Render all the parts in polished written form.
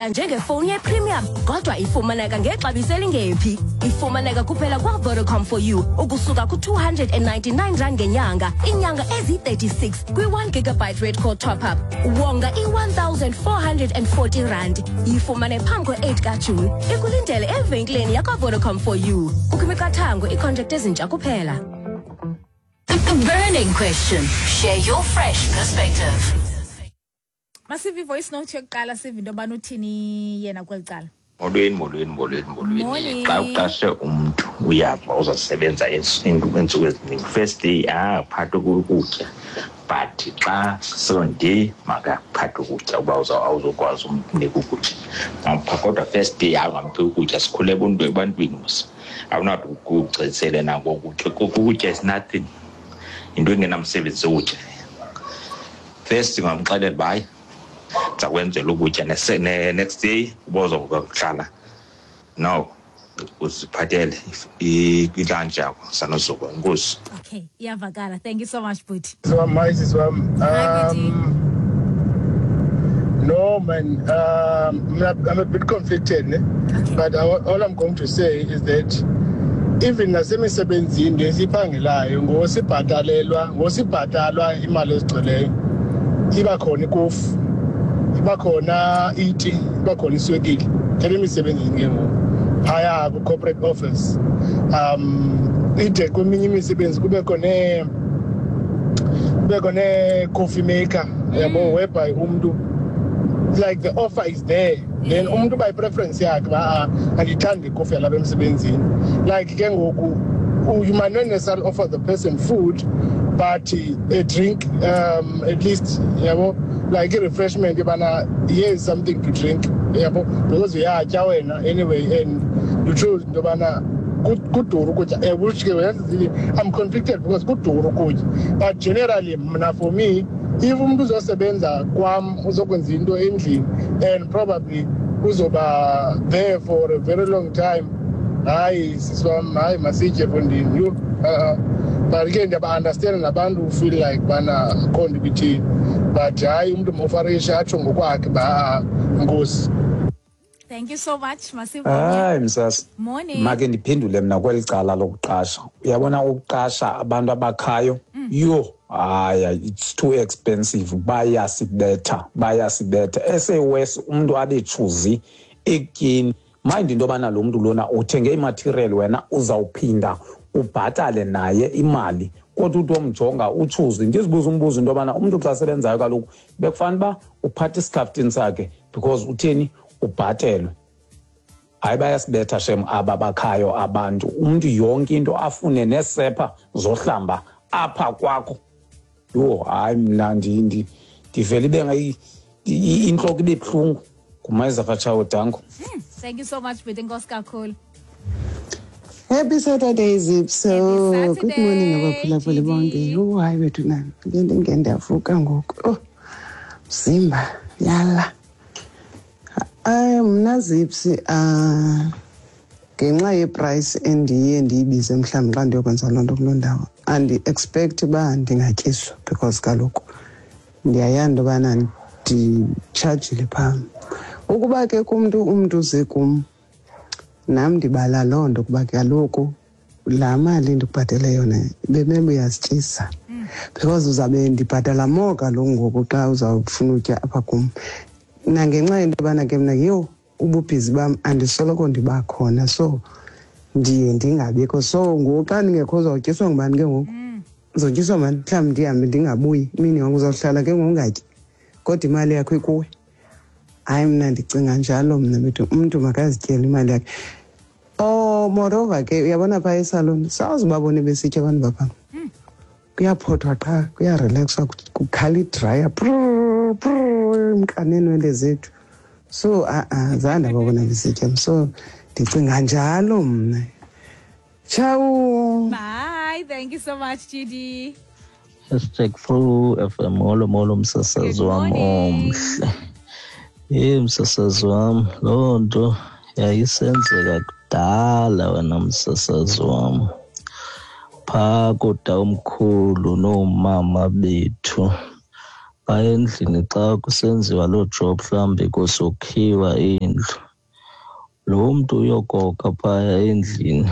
Njengefowuni yepremium, kodwa ifumaneka ngexabiso elingephi. Ifumaneka kuphela kwaVodacom for you ukusuka ku-R299 ngenyanga, iinyanga ezi-36 kwi-1 gigabyte red code top up. Wonga i-R1440. Yifumane phambi kwe-8 kaJuni. Ikulindele evenkileni yakwaVodacom for you. Kukho imiqathango, iicontract ezintsha kuphela. The burning question. Share your fresh perspective. Masive i-voice note yokuqala, sive into yobana uthini yena kweli cala. Molweni, molweni, molweni, molweni. Morning. Xa uqashe umntu, uyava uzasebenza iintsuku eziningi, first day phatha ukutya, but xa second day makaphathe ukutya. Uba awuzokwazi umnika ukutya, ampha, kodwa first day hayi, ungamphi ukutya. Sikhule ebantwini mos, awunathi ukugcisele nako ukutya. Ukutya is nothing, yinto engenamsebenzi ukutya. First ungamxelela uba hayi, ndiza kwenzela ukutya, next day uba uzokuhlala, no, uziphathele ilunch yakho sanozuko. Enkosi. Okay, iyavakala. Thank you so much, bhuti. Sisi wam, hi sisi wam. Hi, bhuti. No man, I'm a bit conflicted, ne? Okay. But all I'm going to say is that even nasemisebenzini esiphangelayo, ngosibhatalelwa, ngosibhatalwa imali ezigcweleyo, iba khona ikofu, iba khona iti, iba khona iswekile. Thela emisebenzini ke ngoku phaya kwi-corporate office, ide kweminye imisebenzi kubekho ne-coffee maker, yabo, whereby umntu, like, the offer is there, then umuntu by preference yakhe ba, "Ah, andiyithandi ikofi yalapha emsebenzini." Like ke ngoku you might not necessarily offer the person food, but a drink, at least, yabo, like i-refreshment yobana here is something to drink, yabo, because uyatya wena anyway and you choose into yobana kuduru ukutya, which ke yazi, I'm conflicted because kuduru ukutya, but generally mna, for me, if umuntu uzosebenza kwam, uzokwenza into endlini and probably uzoba there for a very long time, hayi sisi wam, hayi, masitye fondini yho. But ke ndiyaba-understand nabantu who feel like bana akho nto ibithini, but hayi, umntu mofarishe atsho ngokwakhe uba, "Ah, enkosi." Thank you so much. Masive. Hayi msasi. Morning. Make ndiphendule mna kweli cala lokuqasha. Uyabona, ukuqasha abantu abakhayo, yho, hayi, it's too expensive. Bayasibetha, bayasibetha. Esewes umntu abe choosy ekutyeni. Mind into yobana lo mntu lona uthenge imaterial, wena uzawuphinda ubhatale naye imali, kodwa uthi omjonga uchoosy. Ndizibuza umbuzo into yobana umntu xa sebenzayo kaloku bekufanele uba uphatha isikhafutini sakhe, because utheni, ubhatelwe. Hayi, bayasibetha shem aba bakhayo abantu. Umntu yonke into afune, neesepha zohlamba apha kwakho. Yho, hayi, mna ndivele ibe intloko ibe buhlungu. Ngumayiza katshawo, danko. Thank you so much, bhuti. Enkosi kakhulu. Happy Saturday, Zipso. Happy Good morning, Saturday, abaphulaphuli bonke. Gigi. Yho, hayi wethu nani. Ngeke ndinge ndiyavuka ngoku. Oh, mzimba, yala. Ay, mna Zipsi, ah, ngenxa yeprice endiye ndiyibize mhlawumbi xa ndiyokwenza loo nto kuloo ndawo, andi-expect uba ndingatyiswa, because kaloku ndiyayazi into yobana nditshajile phaa. Ukuba ke kumntu, umntu uze kum, nam ndibala loo nto kuba kaloku laa mali ndikubhatele yona bemele uyazityisa, because uzawube ndibhatala more kaloku ngoku xa uzawufuna utya apha kum. Nangenxa yento yobana ke mna, yho, ububhizi bam, andisoloko ndiba khona, so ndiye ndingabikho. So ngoku xa ndingekho, uzawutyiswa ngubani ke ngoku? Uzotyiswa ngubani? Mhlawumbi ndihambe ndingabuyi imini yonke, uzawuhlala ke ngoku ungatyi, kodwa imali yakho ikuwe. Hayi, mna ndicinga njalo mna bethu, umntu makazityele imali yakhe. Oh, moreover ke, uyabona phaa esaloni sawuze ubabone besitya abantu baphaa. Kuyaphothwa qha, kuyarelaxwa, kukhala idraya, prr, prr, mka neenwele zethu. So a-a, zange ndababona besitya, so ndicinga njalo mna. Tshawu. Bye. Thank you so much, GD. #4 FM, molo molo msasazi Good wam morning. omhle. Hey msasazi wam, loo nto yayisenzeka kudala wena msasazi wam. Phaa kootawomkhulu noomama bethu. Phaya endlini xa kusenziwa loo job mhlawumbi kusokhiwa indlu, lo mntu uyokoka phaya endlini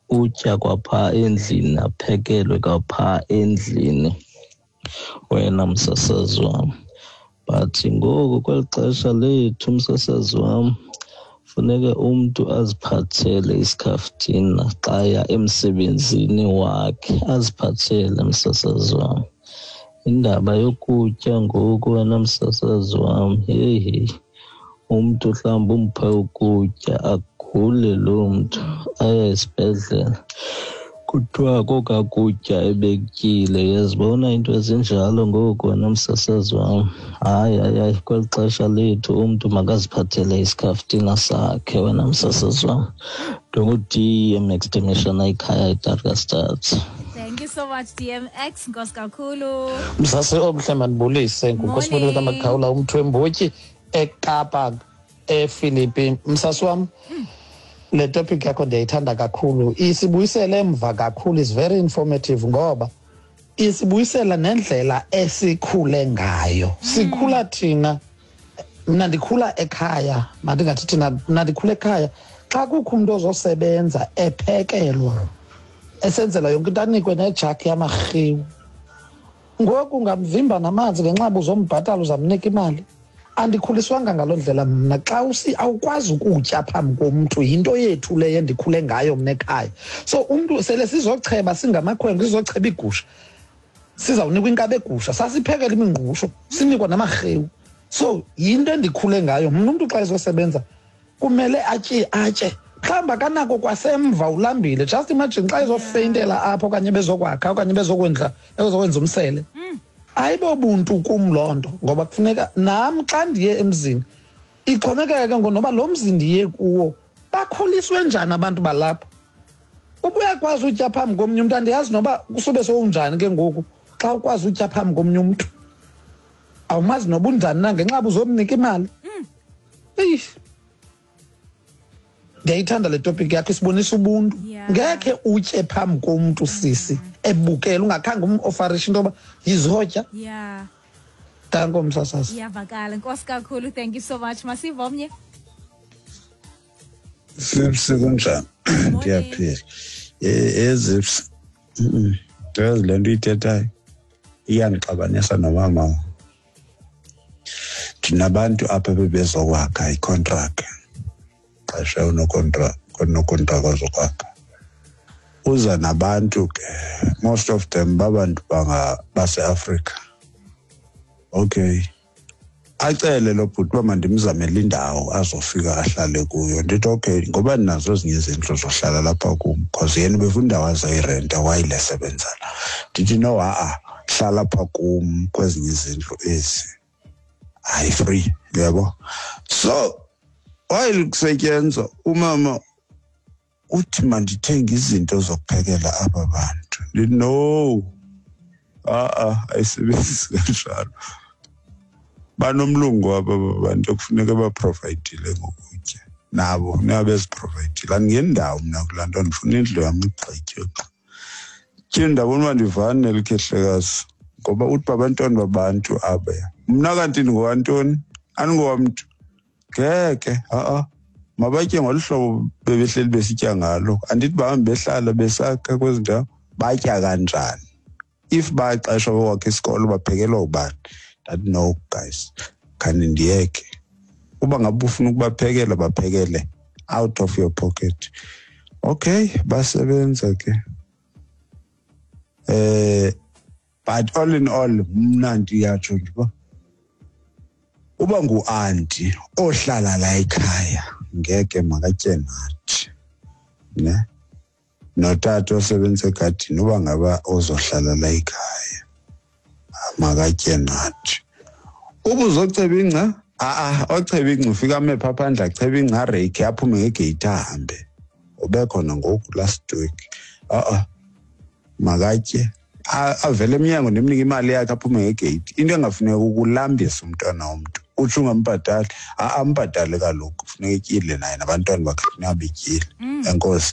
utya kwaphaa endlini aphekelwe kwaphaa endlini, wena msasazi wam. But ngoku kweli xesha lethu, msasazi wam, funeke umntu aziphathele isikhaftina xa ya emsebenzini wakhe, aziphathele, msasazi wam. Indaba yokutya ngoku, wena msasazi wam, heyi heyi, umntu mhlawumbi umphe ukutya agule loo mntu aye esibhedlele, kuthiwa koka kutya ebekutyile. Uyazibona iinto ezinjalo ngoku, wena msasazi wam. Hayi, hayi, hayi, kweli xesha lethu umntu makaziphathele isikhaftina sakhe, wena msasazi wam. Ndingu-D M X Temeshana, ikhaya eTarkastad. Thank you so much, DMX. Nkosi kakhulu. Msase omhle, mandibulise. Ngunkosibonile kaMakhawula, umthwembotyi eKapa, ePhilippi. Msasi wam, le topic yakho ndiyayithanda kakhulu, isibuyisele emva kakhulu, is very informative ngoba isibuyisela nendlela esikhule ngayo. Sikhula thina, mna ndikhula ekhaya, mandingathi thina, mna ndikhula ekhaya xa kukho umntu ozosebenza ephekelwa, esenzela yonke into, anikwe nejaki yamarhiwu. Ngoku ungamvimba namanzi ngenxa uba uzombhatala, uzamnika imali. Andikhuliswanga ngaloo ndlela mna. Xa awukwazi ukutya phambi komntu, yinto yethu leyo endikhule ngayo mna ekhaya. So umntu sele sizocheba singamakhwenkwe, sizocheba iigusha, sizawunikwa inkaba egusha, sasiphekela imingqusho, sinikwa namarhewu. So yinto endikhule ngayo mna. Umntu xa ezosebenza kumele atye, atye. Mhlawumbi akanako kwasemva, ulambile. Just imagine xa ezofeyintela apho okanye bezokwakha okanye bezokwenza umsele. Ayibobuntu kum loo nto, ngoba kufuneka nam xa ndiye emzini, ixhomekeke ke ngoku noba lo mzi ndiye kuwo bakhuliswe njani abantu balapha. Uba uyakwazi utya phambi komnye umntu, andiyazi noba kusube sowunjani ke ngoku xa ukwazi utya phambi komnye umntu, awumazi noba unjani na ngenxa yoba uzomnika imali. Eyi, ndiyayithanda le topic yakho, isibonisa ubuntu. Ngekhe utye phambi komntu, sisi, ebukela, ungakhange umofarishe into yoba yizotya. Danko, msasazi. Iyavakala. Nkosi kakhulu, thank you so much. Masive omnye. Zips, kunjani? Ndiyaphila. Zips, yazi le nto uyithethayo iyandixabanisa nomama. Ndinabantu apha bebezokwakha icontract, xesha unokontraka ozokwakha, uza nabantu ke, most of them babantu baseAfrika. Okay, acele lo bhuti uba mandimzamele indawo azofika ahlale kuyo. Ndithi okay, ngoba ndinazo ezinye izindlu zohlala lapha kum, because yena ubefuna indawo azoyirenta while esebenzela. Ndithi no, ha-a, hlala apha kum kwezinye izindlu ezi, hayi free, uyabo. So while kusetyenzwa, umama uthi mandithenge izinto zokuphekela aba bantu. Ndithi no, ha-a, ayisebenzi kanjalo. Banomlungu wabo aba bantu ekufuneka baprovayidile ngokutya, nabo funeka beziprovayidile. Andingeni ndawo mna kulaa nto, ndifuna indlu yam igqitywe. Tyhini, ndabona uba ndivani nelikhehlekazi, ngoba uthi babantwana babantu aba. Mna kanti ndingowantoni? Andingowamntu. Ngeke, ha-a. Mabatye ngolu hlobo bebehleli besitya ngalo. Andithi bahambe behlala besakha kwezi ndawo, batya kanjani? If baxeshwa bokwakha isikolo, baphekelwa ubani? Ndathi no guys, khani ndiyeke. Uba ngaba ufuna ukubaphekela, baphekele out of your pocket. Okay, basebenza ke. But all in all, mna ndiyatsho nje uba uba ngu-anti ohlala la ekhaya ngeke makatye nathi, ne? Notata osebenza egadini, uba ngaba ozohlala la ekhaya makatye nathi. Uba uzoceba ingca, a-a, ocheba ingca ufika ame phaa phandle, achebe ingca, areyikhe, aphume ngegeyithi ahambe. Ube khona ngoku last week. A-a, makatye. Avele emnyango, ndimnike imali yakhe, aphume ngegeyithi. Into engafuneki ukulambisa umntwana womntu. Utsho ungambhatali, a-a, ambhatale kaloku. Funeka etyile naye, nabantwana bakhe funeka betyile. Enkosi.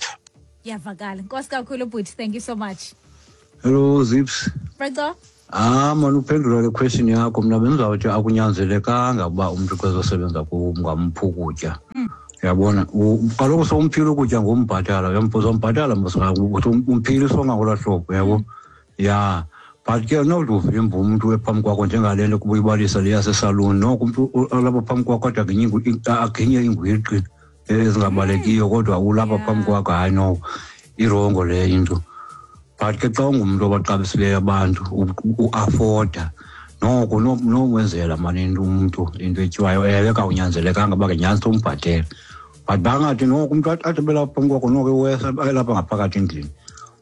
Iyavakala. Nkosi kakhulu, bhuti. Thank you so much. Hello, Zips. Franco? Ah mani, uphendula le question yakho, mna bendizawuthi akunyanzelekanga uba umntu xa ezosebenza kungamphi ukutya. Uyabona, kaloku sowumphile ukutya ngombhatala, uzombhatala mos, umphile isonka ngolaa hlobo, uyabo. Ya, but ke nokuthi uvimba umntu ephambi kwakho, njengale nto kuba uyibalisa le yasesaluni, noko umntu olapha phambi kwakho kodwa aginye ingwiqi ezingabalekiyo, kodwa ulapha phambi kwakho, hayi noko i-wrong leyo into. But ke xa ungumntu obaxabisileyo abantu, uafforda noko nomwenzela mani into umntu, into etyiwayo. Ewe, kawunyanzelekanga uba ngenyanisa umbhatele, but bangathi noko umntu athi belapha phambi kwakho, noko iwesa elapha ngaphakathi endlini.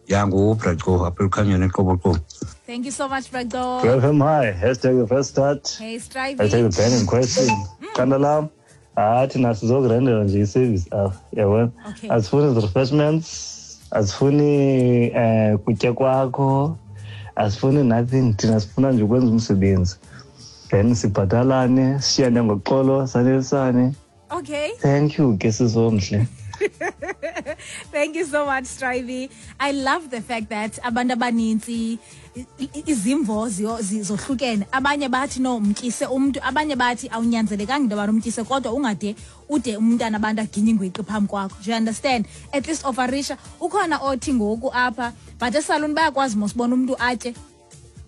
Ya, nguBraco apha elukhanyeni eQoboqobo. Thank you so much, Braco. Welcome, hi. #TheFreshStart. Hey, Strivey. #TheBurning question. Qanda lam. Hayi, thina sizokurendela nje i-service apha, yabona. Asifuni refreshments, asifuni kutya kwakho, asifuni nothing. Thina sifuna nje ukwenza umsebenzi. Then sibhatalane, sishiyane ngoxolo, sanelisane. Thank you ke, sizomhle. Thank you so much, Strivey. I love the fact that abantu abanintsi izimvo zohlukene. Abanye bathi no, mtyise umntu, abanye bathi awunyanzelekanga into yobana umtyise, kodwa ungade ude umntana abantu aginye ingwiqi phambi kwakho. Do you understand? At least ofarisha. Ukhona othi ngoku apha, but esaluni bayakwazi mosibona umntu atye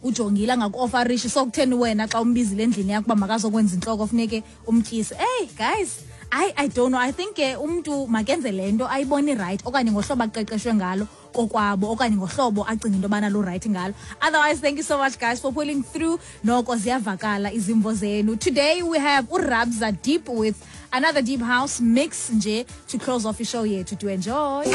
ujongile angakuofarishi, so kutheni wena xa umbizile endlini yakho uba makazokwenza intloko funeke umtyise? Hey guys, I don't know. I think ke umntu makenze le nto ayibone right, okanye ngohlobo aqeqeshwe ngalo kokwabo, okanye ngohlobo acinga into yobana lu-right ngalo. Otherwise, thank you so much guys for pulling through. Noko ziyavakala izimvo zenu. Today we have uRabza Deep with another deep house mix nje to close off ishow yethu. Do enjoy.